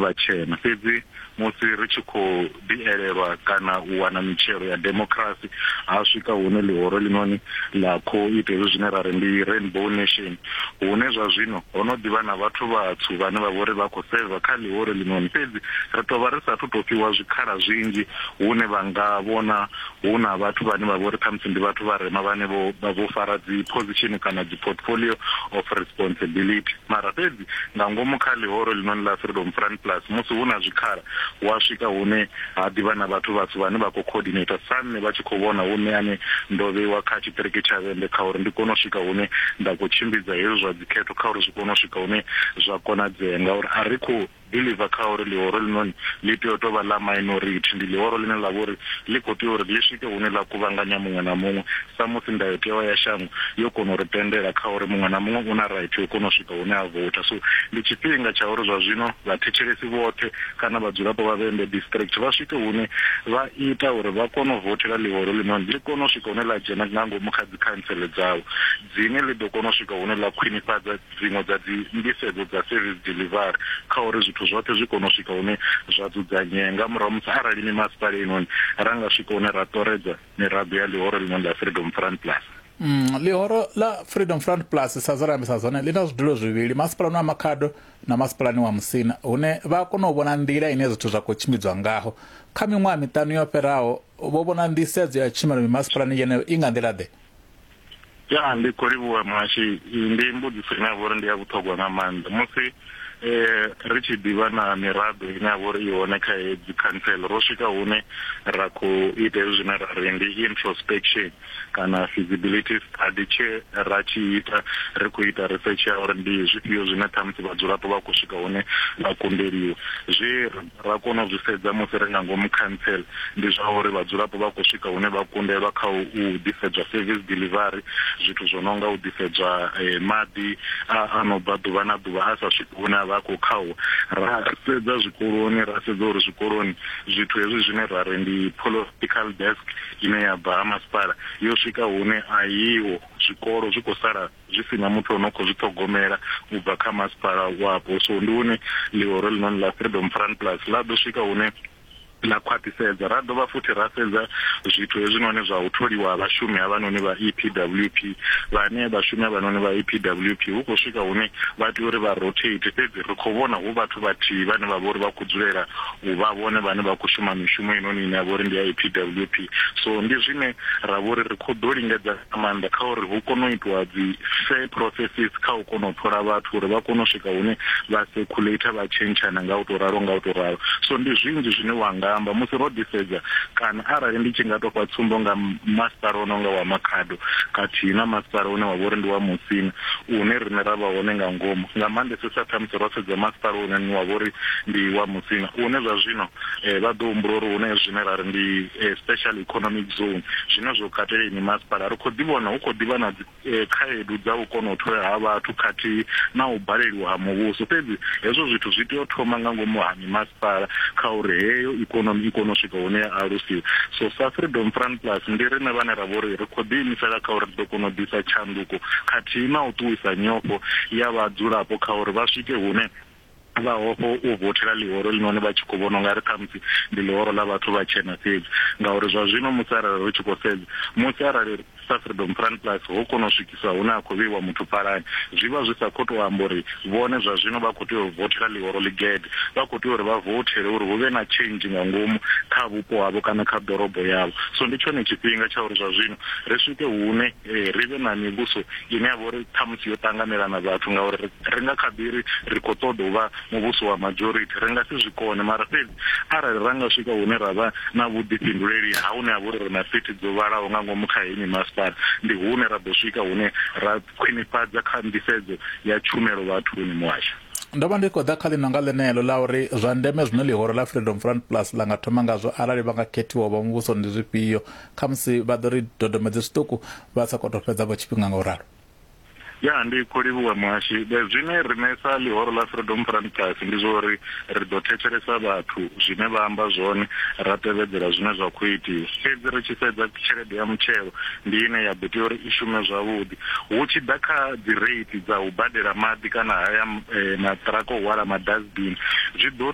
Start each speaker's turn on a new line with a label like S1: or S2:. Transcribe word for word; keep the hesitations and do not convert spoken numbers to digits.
S1: vhatshena. Fhedzi musi ri tshi khou ḓi elelwa kana u wana mitshelo ya democracy, ha swika hune ḽihoro ḽinoni ḽa khou ita hezwi zwine ra ri ndi rainbow nation, hune zwa zwino ho no ḓivha na vhathu vhatswu vhane vha vhori vha khou seva kha ḽihoro ḽinoni. Fhedzi ri tou vha ri sathu tou fhiwa zwikhala zwinzhi hune vha nga vhona hu na vhathu vhane vha vhori khamusi ndi vhathu vharema vhane vho vho fara dzi position kana dzi portfolio of responsibility. Mara fhedzi nga ngomu kha ḽihoro ḽinoni ḽa Freedom Front Plus, musi hu na zwikhala, wa swika hune ha ḓivha na vhathu vhatswu vhane vha khou coordinator sa nṋe, vha tshi khou vhona hune ane ndo vheiwa kha tshiṱiriki tsha Vhembe kha uri ndi kone u swika hune nda khou tshimbidza hezwi zwa dzikhetho, kha uri zwi kone u swika hune zwa konadzea, ngauri a ri khou believe kha uri ḽihoro ḽinoni ḽi tea u tou vha ḽa minority. Ndi ḽihoro ḽine ḽa vha uri ḽi khou tea uri ḽi swike hune ḽa kuvhanganya muṅwe na muṅwe, sa musi ndayotewa ya shango yo kona u ri tendela kha uri muṅwe na muṅwe u na right yo kona u swika hune a vouta. So ndi tshifhinga tsha uri zwa zwino vhathetshelesi vhoṱhe kana vhadzulapo vha Vhembe district vha swike hune vha ita uri vha kone u vothela ḽihoro ḽinoni, ḽi kone u swika hune ḽa dzhena nga ngomu kha dzi khantsele dzavho, dzine ḽi ḓo kona u swika hune ḽa khwinifhadza dziṅwe dza dzi nḓisedzo dza service delivery, kha uri zwithu zwoṱhe zwi kone u swika hune zwa dzudzanyea nga murahu musi arali mimasipala inoni ra nga swika hune ra ṱoredza miraḓo ya ḽihoro ḽinoni ḽa Freedom Front Plus.
S2: Mm, ḽihoro ḽa Freedom Front Plus, sa zwe ra ambisa zwone, ḽi na zwidulo zwivhili, masipalani wa Makhado na masipalani wa Musina, hune vha kona u vhona nḓila ine zwithu zwa khou tshimbidzwa ngaho. Kha miṅwaha miṱanu yo fhiraho, vho vhona nḓisedzo ya tshumelo mimasipalani yeneyo i nga nḓila ḓe?
S1: Ya, ndi khou livhuwa muhashi. Ndi mbudziso ine ya vha uri ndi ya vhuṱhogwa nga maanḓa. Musi eh ri tshi ḓivha na miraḓo ine ya vha uri i hone kha hedzi khantsela, ro swika hune ra khou ita hezwi zwine ra ri ndi introspection kana feasibility study. Tshe ra tshi ita, ri khou ita research ya uri ndi zwifhio zwine ṱhamusi vhadzulapo vha khou swika hune vha kundeliwa. Zwe ra kona u zwi sedza musi ri nga ngomu khantsela ndi zwa uri vhadzulapo vha khou swika hune vha kundelwa kha u ḓisedzwa service delivery, zwithu zwo no nga u ḓisedzwa maḓi a no bva ḓuvha na ḓuvha a sa swiki hune a vha khou khauwa. Ra sedza zwikoloni, ra sedza uri zwikoloni zwithu hezwi zwine ra ri ndi political desk ine ya bva ha masipala yo swika hune a yiho, zwikolo zwi khou sala zwi sina muthu ono khou zwi ṱhogomela u bva kha masipala wapo. So ndi hune ḽihoro ḽinoni ḽa Freedom Front Plus ḽa ḓo swika hune ḽa khwaṱhisedza. Ra dovha futhi ra sedza zwithu hezwinoni zwa u tholiwa ha vhashumi havhanoni vha E P W P, vhane vhashumi havhanoni vha E P W P hu khou swika hune vha tea uri vha rotate, fhedzi ri khou vhona hu vhathu vhathihi vhane vha vha uri vha khou dzulela u vha vhone vhane vha khou shuma mishumo inoni ine ya vha uri ndi ya E P W P. So ndi zwine ra vha uri ri khou ḓo lingedza nga maanḓa kha uri hu kone u itiwa dzi fair processes kha u kona u thola vhathu, uri vha kone u swika hune vha circulate, vha tshentshana nga u tou ralo nga u tou ralo. So ndi zwinzhi zwine wa nga amba musi ro ḓisedza, kana arali ndi tshi nga tou fha tsumbo nga masipala o no nga wa Makhado khathihi na masipala une wa vha uri ndi wa Musina, une riṋe ra vha hone nga ngomu, nga maanḓesesa ṱhamusi ro sedza masipala une wa vha uri ndi wa Musina, une zwa zwino vha ḓo humbula uri hune zwine ra ri ndi special economic zone, zwine zwo katela ini masipala, ri khou ḓi vhona hu khou ḓivha na dzi khaedu dza u kona u thola ha vhathu khathihi na u baleliwa ha muvhuso. Fhedzi hezwo zwithu zwi tea u thoma nga ngomu ha mimasipala kha uri heyo ikonomi i kone u swika hune ya alusiwa. So sa Freedom Front Plus ndi riṋe vhane ra vha uri ri khou ḓiimisela kha uri ri ḓo kona u ḓisa tshanduko khathihi na u ṱuwisa nyofho ya vhadzulapo kha uri vha swike hune vha hofho u vothela ḽihoro ḽinoni vha tshi khou vhona ungari ṱhamusi ndi ḽihoro ḽa vhathu vha tshena fhedzi. Ngauri zwa zwino musi arali ri tshi khou sedza, musi arali sa Freedom Front Plus ho kona u swikiswa hune a khou vheiwa muthu phalani, zwi vha zwi sa khou tou amba uri vhone zwa zwino vha khou tea u vothela ḽihoro ḽigede, vha khou tea uri vha vothele uri hu vhe na change nga ngomu kha vhupo havho kana kha ḓorobo yavho. So ndi tshone tshifhinga tsha uri zwa zwino ri swike hune ri vhe na mivhuso ine ya vha uri ṱhamusi yo ṱanganelana vhathu, ngauri ri nga kha ḓi ri ri khou ṱoḓa u vha muvhuso wa majority, ri nga si zwi kone. Mara fhedzi arali ra nga swika hune ra vha na vhuḓifhinduleli ha hune ha vha uri ri na sithi dzo vhalaho nga ngomu kha heyi mimasipala, ndi hune ra ḓo swika hune ra khwinifhadza kha nḓisedzo ya tshumelo vhathuni muhasho.
S2: Ndo vha ndi khou ḓa kha ḽino nga ḽeneḽo ḽa uri zwa ndeme zwine ḽihoro ḽa Freedom Front Plus ḽa nga thoma ngazwo arali vha nga khethiwa vha muvhuso ndi zwifhio, khamusi vha ḓo ri dodomedze zwiṱuku vha sa khou tou fhedza vho tshifhinga nga u ralo.
S1: Ya, ndi khou livhuwa muhashi. Zwine riṋe sa ḽihoro ḽa Freedom Front Plus ndi zwa uri ri ḓo thetshelesa vhathu zwine vha amba zwone, ra tevhedzela zwine zwa khou itiwa. Fhedzi ri tshi sedza tshelede ya mutshelo ndi ine ya ḓo tea uri i shume zwavhuḓi. Hu tshi ḓa kha dzi rate dza u badela maḓi kana haya maṱiraka o hwala madustbin, zwi ḓo